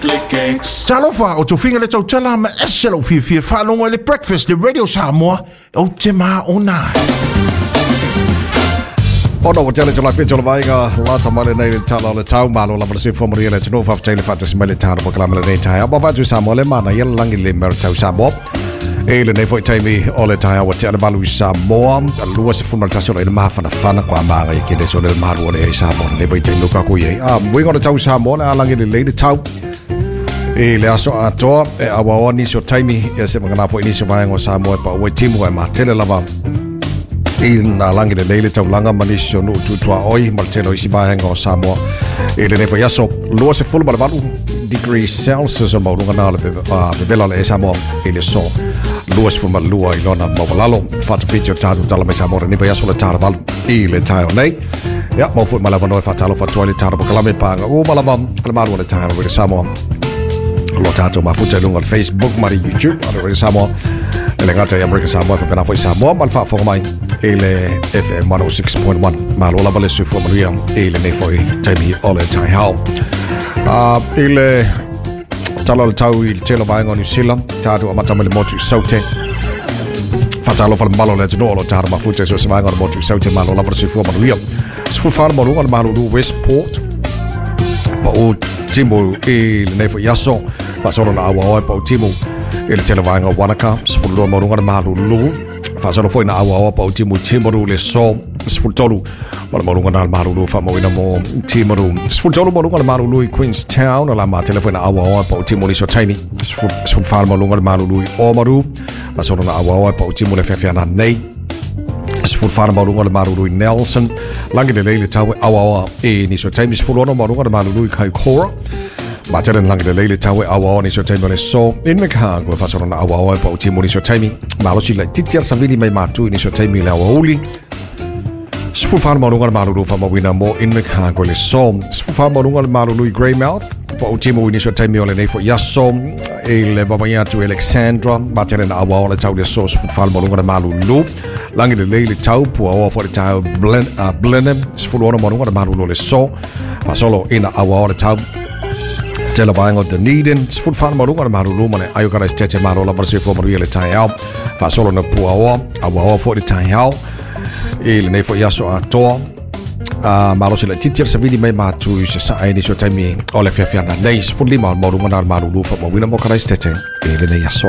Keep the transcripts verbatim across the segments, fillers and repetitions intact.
Talofa o tofiga le tautala ma ese lou fiafia faalogo i le Breakfast le Radio Samoa ou te maona. Ona ua tele tula whitu o le vaega lata mai lenei le tala o le tau malo lava le soifua manuia le atunuu faafetai le faatasi mai le tala polokalame lenei taeao ma vatu Samoa le mana ia langi le mea o le tau Samoa e lenei foi taimi o le taeao ua tea le valu i Samoa lua sefulu ma le tasi o le ina mafanafana kwa maga i kene so le malu o le ai Samoa lenei foi taimi o kako i ai a muinga o le tau Samoa le alangi lelei le tau e le aso atoa e awaoa nisi o taimi ia se mangana foi nisi o vaega o Samoa e pau ai timu ai matele lava i nā langi le leile taulanga ma nisi o nuu tutua oi ma le tele o isi vaega o Samoa i lenei foi aso lua sefulu ma le valu degree Celsius o maualuga na o le vevela o le e Samoa i le so lua sefulu ma le lua i lona maualalo faatafiti o tatou tala mai Samoa lenei foi aso le tala valu i le taeao nei. Ia mau foi ma le avanoa e faatalofa atu ai le tala polokalame paga uma lava le malu o le taeao i le Samoa lo tatou mafuta i luga o le Facebook ma le YouTube a le Radio Samoa e le gata i Amerika Samoa faapena foi Samoa ma le faafofoga mai i le F M one oh six point one. Malo lava le soifua manuia i lenei foi taimi o le taeao. I le tala o le tau i le tele o vaega o New Zealand tatou amata mai le motu i Saute faatalofa le malo o le atunuu o lo tatou mafuta i so o se vaega o le motu i Saute malo lava le soifua manuia. Sefulu fa le maualuga o le malulu Westport pau timu i lenei foi aso faasolo na auaoa e pau timu i le tele vaega o Wanaka sefulu lua maualuga le malulu faasolo foi na auaoa pau timu i Timaru le so sefulu tolu ma le maualuga na le malulu faamauina mo Timaru sefulu tolu maualuga le malulu i Queenstown o la matele foi na auaoa e pau timu i so taimi sefulu fa le maualuga le malulu i Oamaru faasolo na auaoa e pau timu le feafeana nei sefulu fa le maualuga le malulu i Nelson langi lelei le tau e auaoa i nisi o taimi sefulu ono maualuga le malulu i Kaikoura matele langi lelei le tau e auaoa nisi o taimi o le so Invercargill faasolo na auaoa e pau timu nisi o taimi malosi laitiiti a le savili mai matu i nisi o taimi i le aoauli sefulu fa le maualuga le malulu faamauina mo Invercargill le so sefulu fa maualuga le malulu i Greymouth pau timu i nisi o taimi o lenei foi aso i le vavaia atu Alexandra matele na auaoa le tau le so sefulu fa le maualuga le malulu langi lelei le tau puaoa foi le tau Blenheim sefulu ono maualuga le malulu le so faasolo ina auaoa le tau tele vaega o Dunedin sefulu fa le maualuga le malulu ma le Aiokaraisitete malo lava le soifua manuia le taeao faasolo na puaoa auaoa foi le taeao i lenei foi aso atoa malosi laitiiti a le savili mai matu i sasae nisi o taimi o le feafeana nei sefulu lima o le maualuga na le malulu faamauina mo Karaisitete i lenei aso.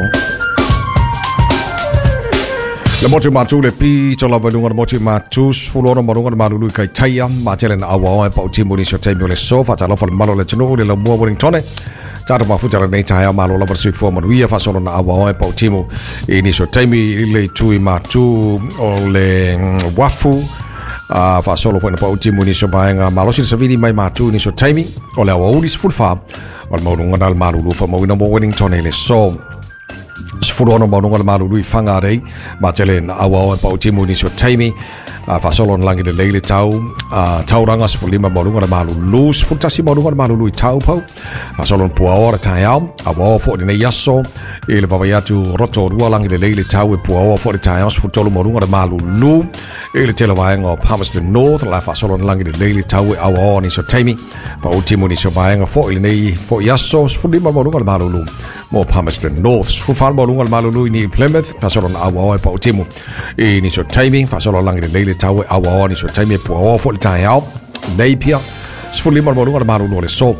Le motu matu le pito lava i luga le motu matu sefulu ono maualuga le malulu i Kaitaia matele na auaoa e pau timu nisi o taimi o le so faatalofa le malo o le atunuu le laumua Wellingtone tatou mafuta lenei taeao malo lava le soifua manuia faasolo na auaoa e pau timu i nisi o taimi i le itu i matu o le wafu faasolo foi na pau timu i nisi o vaega malosi le savili mai matu i nisi o taimi o le aoauli sefulu fa o le maualuga na le malulu faamauina mo Wellingtone i le so sefulu ono maualuga le malulu i Whangarei matele na auaoa e pau timu i nisi o taimi faasolo na langi lelei le tau tauranga sefulu lima maualuga le malulu sefulu tasi maualuga le malulu i Taupau faasolo na puaoa le taeao auaoa foi lenei aso i le vavai atu Rotorua langi lelei le tau e puaoa foi le taeao sefulu tolu maualuga le malulu i le tele vaega o Palmerston North la faasolo na langi lelei le tau e auaoa nisi o taimi pau timu nisi o vaega foi lenei foi aso sefulu lima maualuga le malulu mo Palmerston North sefulu fa maualuga le malulu i New Plymouth faasolo na auaoa e pau timu i nisi o taimi faasolo langi lelei le tau e auaoa nisi o taimi e puaoa foi le taeao Napier sefulu lima maualuga le malulu o le so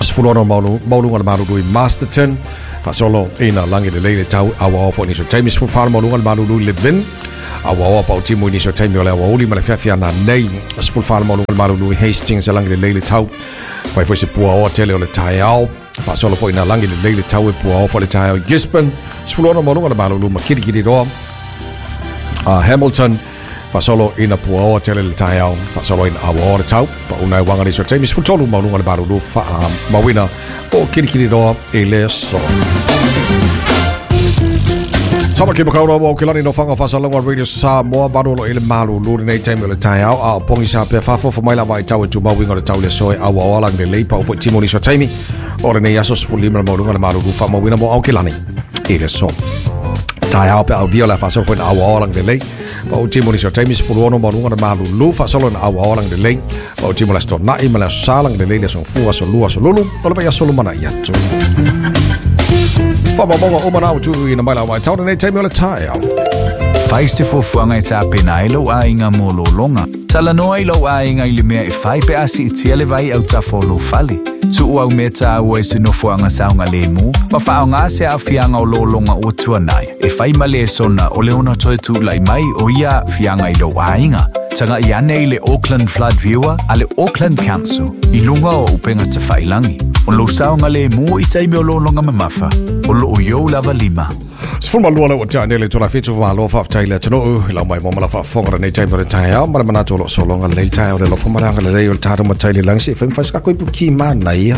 sefulu ono maualuga le malulu i Masterton faasolo ina langi lelei le tau auaoa foi nisi o taimi sefulu fa maualuga le malulu i Levin auaoa pau timu i nisi o taimi o le aoauli ma le feafeana nei sefulu fa maualuga le malulu i Hastings e langi lelei le tau fai foi se puaoa tele o le taeao faasolo foi ina langi lelei le tau e puaoa foi le taeao i Gisborne sefulu ono maualuga le malulu ma Kirikiriroa Hamilton faasolo ina puaoa tele le taeao faasolo ina auaoa le tau pauna e waga nisi o taimi sefulu tolu maualuga le malulu faamauina o Kirikiriroa i le aso. Tamaki Makaurau o Aokelani no whanga whasalonga Radio Samoa marolo i le malulu lenei taimi o le taeao a o pongi sa pea fafofo mai lava i tau e tumauinga o le tau le soe auaoa langi lelei pau foi timu nisi o taimi o lenei aso sefulu lima le maualuga le malulu faamauina mo Aokelani i le aso. Taeao pe audia le faasolo foi na auao lagi lelei. Ma o timu nisi o taimi sefulu ono ma luga na malulu faasolo na auao lagi lelei. Ma o timu le aso Tona'i ma le aso Sa lagi lelei le aso Gafua, aso Lua, aso Lulu, o le vai aso lumana'i atu. Faamaumauga uma na autuuina mai lau matau lenei taimi o le taeao. Fai se fuafuaga e tapena ai lou aiga mo lologa. Talanoa i lou aiga i le mea e fai pe a siitia le vai autafa o lou fale. Tuu au mea tāua i se nofoaga saogalemu ma faaaogā se aafiaga o lologa ua tuanai. E fai ma lesona o le ona toe tula'i mai o ia aafiaga i lou aiga. Taga'i ane i le Auckland Flood Viewer a le Auckland Council i luga o upega tafailagi. O lou saogalemu i taimi o lologa mamafa. O loo iou lava lima. Sefulu ma lua le ua tea nei le itula fitu malo faafetai le atunuu i lau mai mo ma la faafofoga lenei taimi o le taeao ma le manatu o loo sologa lelei taeao le alofa ma le agalelei o le tatou matai i le lagi se i fai ma fai se kako ipu ki manaia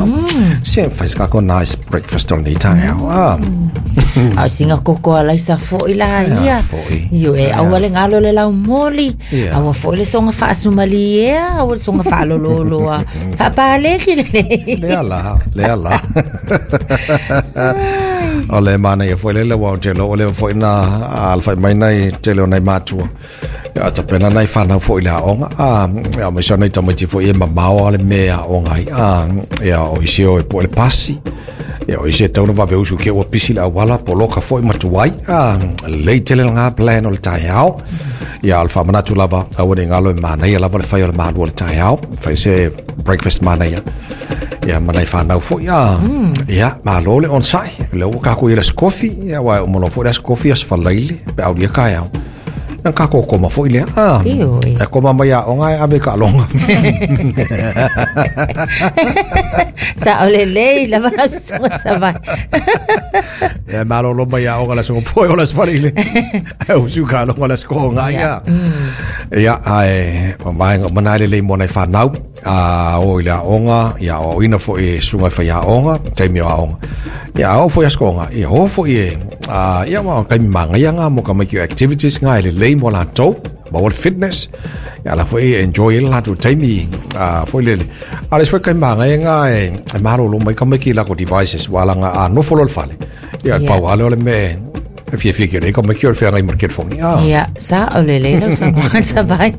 se fai se kako nice breakfast o lenei taeao ah A o singa koko a laisa fo'i la ia. Io e aua le galo le laumoli. Aua fo'i le soga faasumaliea, aua le soga faalololoa. Faapaleki lelei. Lea la, lea la. O le manaia foi lele ua o te lo o le foi na alafai mai nai tele o nai matua. Ia tapena nai whanau foi le aoga. Ah, ia mai sa nai tamaiti foi e mamao ale me aoga ai. Ah, ia o isi o e po le pasi. Ia o isi e tauna vave usu ke ua pisi le awala poloka foi matuai. Ah, lei tele ngā plan o le taeao. Ia o le whamanatu lava aua ne ngalo e manaia lava le whai o le malu o le taeao. Whai se breakfast manaia. Ia manai whanau foi. Ah, ia malo le onsai. Le ua kako i le skofi. Ia wai o mono foi le skofi as whalaile. Pe au lia kaeao. Ia kako koma foi lea. Ah, e koma mai a onga e ave ka longa. Sa o le lei lava la susuga savai. Ia malo lo mai a onga la susuga foi o la sfalile. E usu ka longa la susuga ia. Ia ai mai manai le lei mo nai whanau. A o i le aoga, ia o ina foi e susuga e whai aoga, taimi o aoga. Ia o foi a skoga, ia o foi e a ia ma kai mangaia ngā mo ka mai ki activities ngā e le lei mo latou, ma o le fitness. Ia la foi e enjoy le latou taimi a foi lele. A le foi kai mangaia ngā e e malolo mai ka mai ki lako devices wala ngā a nofo lo le fale. Ia Ia. pau ale o le me e fia fia ke rei ka mai ki o le whangai mo le telefoni. Ah. Ia, sa o le lei lau saunoaga savai.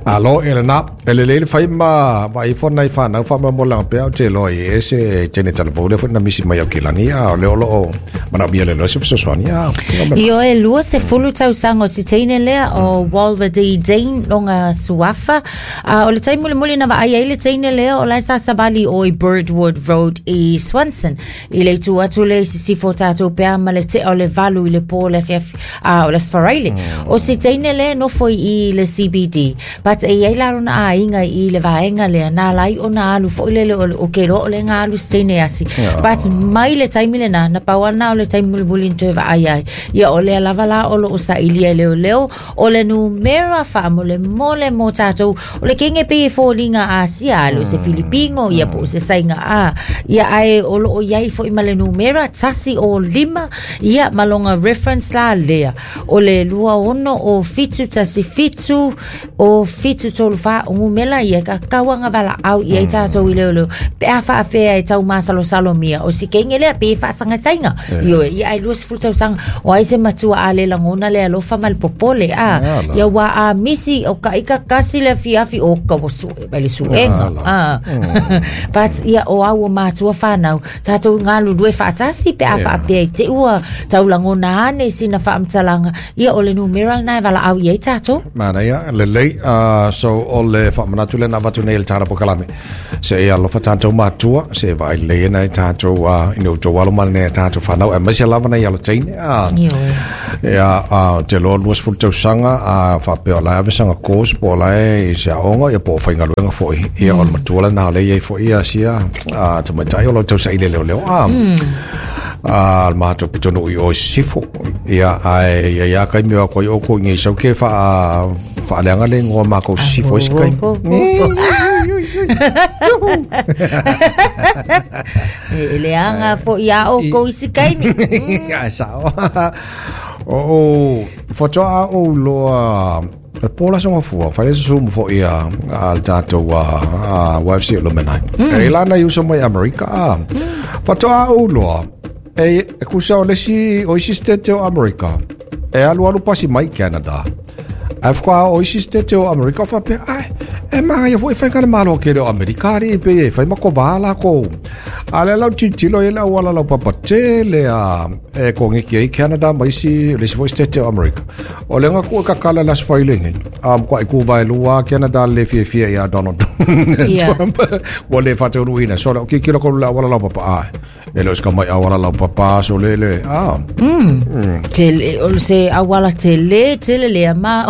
Malo e lena, e le lele whai ma, ma i whana i whanau wha ma mo langa pea o te loa i e se tene talavou le whana misi mai au ke lani a o le olo o mana mia le loa se whasoswani a. Io e lua se fulu tausaga o se teine lea o Walter D. Dean longa suafa. A o le taimi mulimuli na vaai ai le teine lea o lae sa savali o i Birdwood Road i Swanson. I le itu atu le i sisifo tatou pea ma le tea o le valu i le pō le afiafi a o le Sfaraile. O se teine lea nofo i le C B D. But e iai la lona aiga i le vaega lea na lai o na alu foi lele o, o ke loa o le ngā alu se teine asi. But mai le taimi lena, na pau ana o le taimi mulimuli ni toe vaai ai. Ia o lea lava la o loo sailia i leoleo, o le numera faamolemole mo tatou, o le kenge pe e foliga Asia, ale o se Filipino, ia po o se saiga a. Ia ae o loo iai foi ma le numera, tasi o lima, ia ma longa reference la lea. O le lua ono o fitu tasi fitu, o fitu tolu wha o ngumela ia ka kauanga wala au ia i tātou i leo leo. Pe a whaafea e tau masalosalo mia. O si kenge lea pe e whaasanga sainga. Io ia ai lua sefulu tausaga. O ai se matua a le langona le alofa ma le popole. A, ia wa a misi o ka ika kasi le fiafi o ka wasu e mai le suenga. A. But ia o au o matua whanau. Tātou ngā lulue whaatasi pe a whaapea i te ua tau langona ane sina whaamtalanga. Ia o le numera nai wala au ia i tātou. Manaia, lelei, uh, so o le whaamanatu le na watu nei le tāna pokalame. Se e alofa tātou matua, se vai le nei tātou, uh, ina o tō alo mana nei tātou whanau, e maise lava nei alo teine. Uh, Io Ia, uh, te loa lua sefulu tausaga, uh, whaapea o lai avesanga course, po o lai i se aoga, ia po o whaingaluenga foi. Ia o le matua le nā o le iai foi ia sia, uh, tamaitai o lau tausa i le leo leo. Uh, a le matou pitonu i o i sisifo. Ia ae ia ia kai mea koe o ko ngi sau ke wha whaaleanga le ngoa mākou sisifo i se kai. E le anga fo ia o ko isi kaimi. Ai sao. O o whatoa o loa le pōla songa fua, whaile se sumu fo ia a le tātou a Y F C o Lumenai. E lana i uso mai Amerika. Whatoa o loa E e kusa o lesi o isi state o Amerika. E alu alu pasi mai Canada. Ai whakwa o isi state o Amerika o whapea, ai, e manga ia fo e whaikana malo kere o Amerika ri pe e whai mako wā ko. A le lau titilo e lau wala lau papatele a e ko ngeki ai Canada ma isi lesi fo state o Amerika. O lenga ku e kakala las whailenge. A mkwa i ku vai lua Canada le fia fia ia Donald Trump. Wa le whatauru So le kikilo ko lau wala lau papa ai. E leo ska mai awala lau papa so le le. Ah. Mm. Tele o se awala tele tele le ma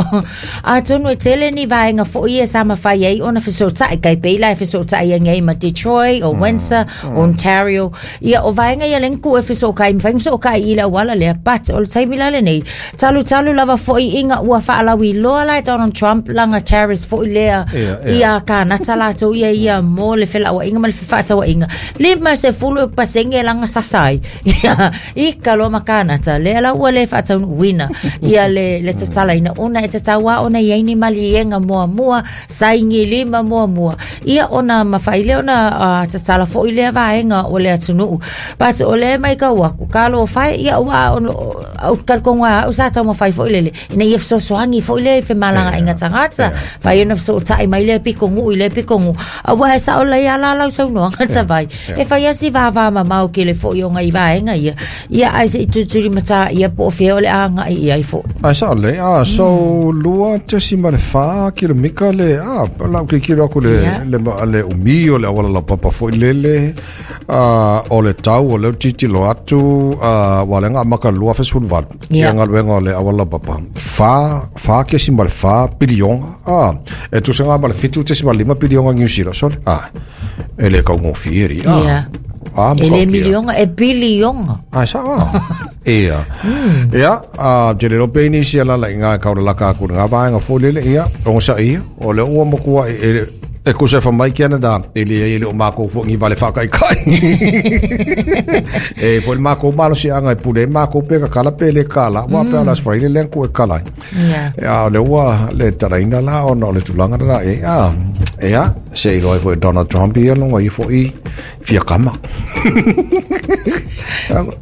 a tonu e tele ni vaenga fo ia sa mawhai ai ona fesotai kai peila e fesotai ai ngai ma Detroit o Windsor mm. Ontario ia o vaenga ia lenku e fesokai mawhai fesokai i la wala lea but o le taimi lale nei talu talu lava fo i inga ua whaalawi loa lai Donald Trump langa terrorist fo i lea ia kānata lātou ia ia mō le whelaua inga ma le whaatawa inga lima se fulu e pasenge langa sasai ia i kaloa ma kānata lea la ua le whaataunu wina ia le le tatala ina ona e tataua ona ia ini malienga mua mua saingi lima mua mua ia ona mawhaile ona uh, tatala fo i lea vaenga o le atunuu but o le mai ka waku kalo whai ia ua ono au talkonga au sa tau mawhai fo i lele ina ia fesoasoani fo i le fe malanga inga tangata whai ona feso tai mai le piko ngu i le piko ngu a ua e sa o le ala lau sau noa ngata vai e whai asi vava mamau ke le fo i onga i vaenga ia ia ai se i tuturi mata ia po o le anga i ia i fo ai sa le a so lua tesi ma le wha kilomika le a lau ke kilo aku le le le umi o le awala la papa fo i lele a o le tau o le titilo atu a walenga maka lua fesulu valu ia ngaluenga o le awala papa fa fa kesi ma le fa pilionga a e tusenga ma le fitu tesi ma lima pilionga New Zealand so a e le kaungofi eri a Ah, e le milionga e bilionga. Ah, sa wa. Ia. Ia, a te le peni sia la la inga ka la ka ku nga ba nga fo le ia, o sa ia, o le o mo ku e e ku se fa mai Canada, e le e le o mako fo ngi vale fa kai kai. E fo mako malo sia nga pule mako pe ka kala pe le kala, wa pe la sfra le le ku e kala. Ia. Ia le wa le taraina la o no le tulanga la e a. Ia, se i roi fo Donald Trump ia longa i fo i fia kama.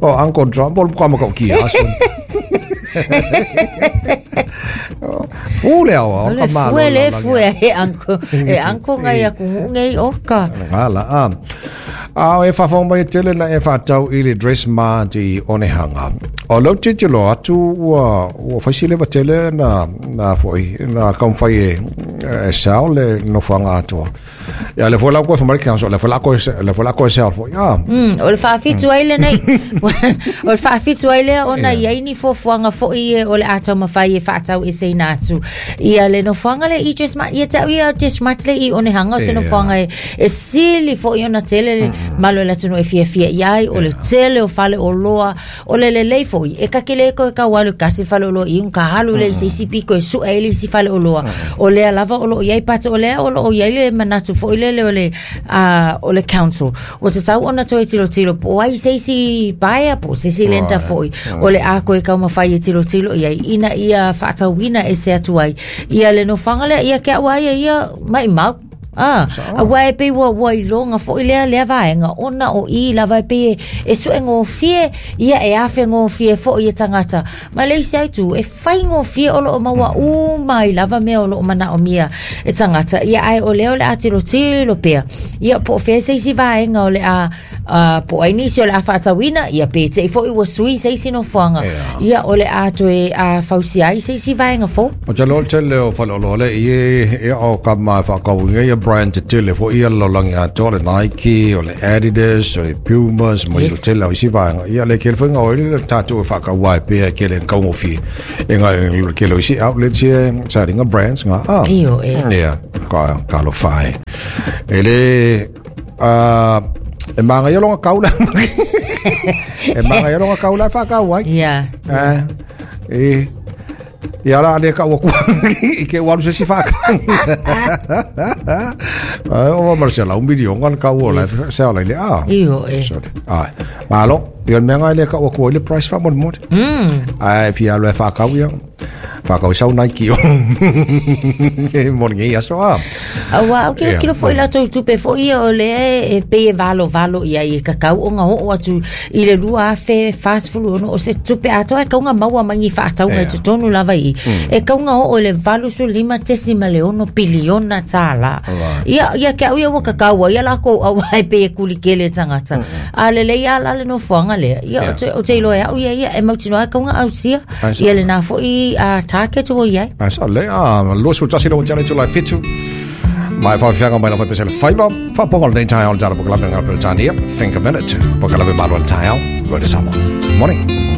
O Uncle Trump o kama ka ki aso. Ule au o kama. Le fue le fue e uncle e uncle ngai aku ngai oka. Ngala a. A e whawhong mai tele na e whatau i le dress ma di onehanga. O lau titilo atu ua ua whaisile wa tele na na foi na kaumwhai e e sao le nofoanga atoa. Ia le fola koe whamari council, le fola koe le fola koe sao foi. Ah. Mm, o le whaafitu ai le nei. O le whaafitu ai le ona ia ini fuafuaga foi e o le atau mawhai e whaatau e seina atu. Ia le nofoanga le i dress ma ia tau ia dress ma le i onehanga o se nofoanga e e sili foi ona tele le malo le atunu e fia fia iai o le tele o fale o loa o le lelei foi e kakele ko e kawalu kasi fale o loa i un ka halu le se isi piko e sua ele isi fale o loa o lea lava o lo iai pata o lea o lo iai le manatu foi le le o le uh, o le council o te tau ona toe tilo tilo po ai se isi paea po se isi lenta foi o le ako e kaumawhai e tilo tilo iai ina ia whaatauina e se atu ai ia le nofanga lea ia kia ua ia ia mai mau. Ah, a wai pe wa wa ilonga fo ile le vaenga ona o i la vai pe e su ngo fie ia e afe ngo fie fo ia tangata Malaysia tu e fai ngo fie o lo maua u mai lava me o lo mana o mia e tangata ia ai o le o le atilo tilo pea ia po fe se si vaenga o le a po ai nisi o le a whaatawina ia pe te fo i wa sui se si no fuanga ia o le a toe a fausi ai se si vaenga fo o te lo te le o whalolo le i e o ka mai whakawinga ia brand te tele fo ia lolangi atoa le Nike o le Adidas o le Pumas mo yes. Tele o isi vaenga ia le kele whainga o le tātou e whakawai pea ke le kaungofi e ngā kele o isi outlets ia sa ringa brands ngā ah Io e ia ka, ka lo whae e le uh, e manga ia longa kaula e manga ia longa kaula e whakawai ia eh, e ia la le ka waku i ke walu se si whaka. O Marcela, un video ngan ka wala se ala le ah. Io e. Sorry. Ah. Malo, ia mea ngai le ka waku le price fa mo mo. Mm. Ai fi alu e whakau ia. Whakau sau Nike o. Morning e aso a. Aua au kilo kilo foi latou tupe foi ia o le e pei e valo valo ia i kakau o ngā o atu i le lua afe fasfulu ono o se tupe atoa e kaunga maua mangi whaataunga i totonu lava i. E kaunga o le valu su lima tesi ma le ono piliona tāla. Ia, ia ke au ia ua kakau ia lako au ai pe e kulikele tangata. A lele ia la le nofoanga lea. Ia o te, o te iloa au ia ia e mautinoa e kaunga au sia. Ia le nā foi a target o iai. Ai sa le a lo su tasi lo tele tu lai fitu. Mai fa fianga mai la fa pesel five fa ponga le tai on tara pokala nga Britania. Think a minute. Pokala be malo le tai. Rode Samoa. Morning.